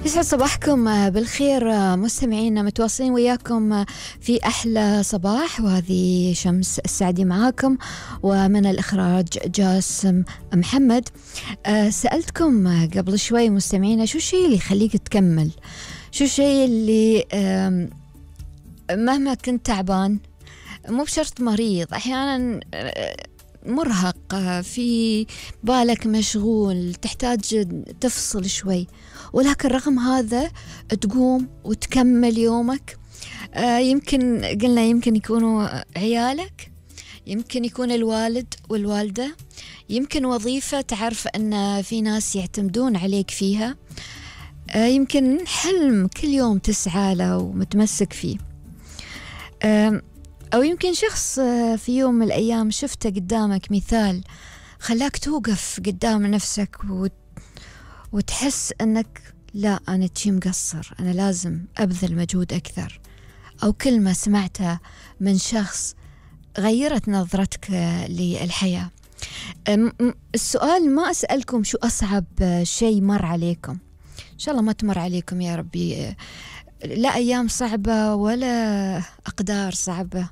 يسعد صباحكم بالخير مستمعينا، متواصلين وياكم في أحلى صباح، وهذه شمس السعدي معاكم، ومن الإخراج جاسم محمد. سألتكم قبل شوي مستمعينا شو الشيء اللي يخليك تكمل، شو الشيء اللي مهما كنت تعبان، مو بشرط مريض، أحيانا مرهق، في بالك مشغول، تحتاج تفصل شوي، ولكن رغم هذا تقوم وتكمل يومك. يمكن قلنا يمكن يكونوا عيالك، يمكن يكون الوالد والوالدة، يمكن وظيفة تعرف أن في ناس يعتمدون عليك فيها، يمكن حلم كل يوم تسعى له ومتمسك فيه، أو يمكن شخص في يوم من الأيام شفته قدامك مثال خلاك توقف قدام نفسك وتحس أنك لا، أنا شي مقصر، أنا لازم أبذل مجهود أكثر، أو كلمة سمعتها من شخص غيرت نظرتك للحياة. السؤال ما أسألكم شو أصعب شيء مر عليكم، إن شاء الله ما تمر عليكم يا ربي لا أيام صعبة ولا أقدار صعبة،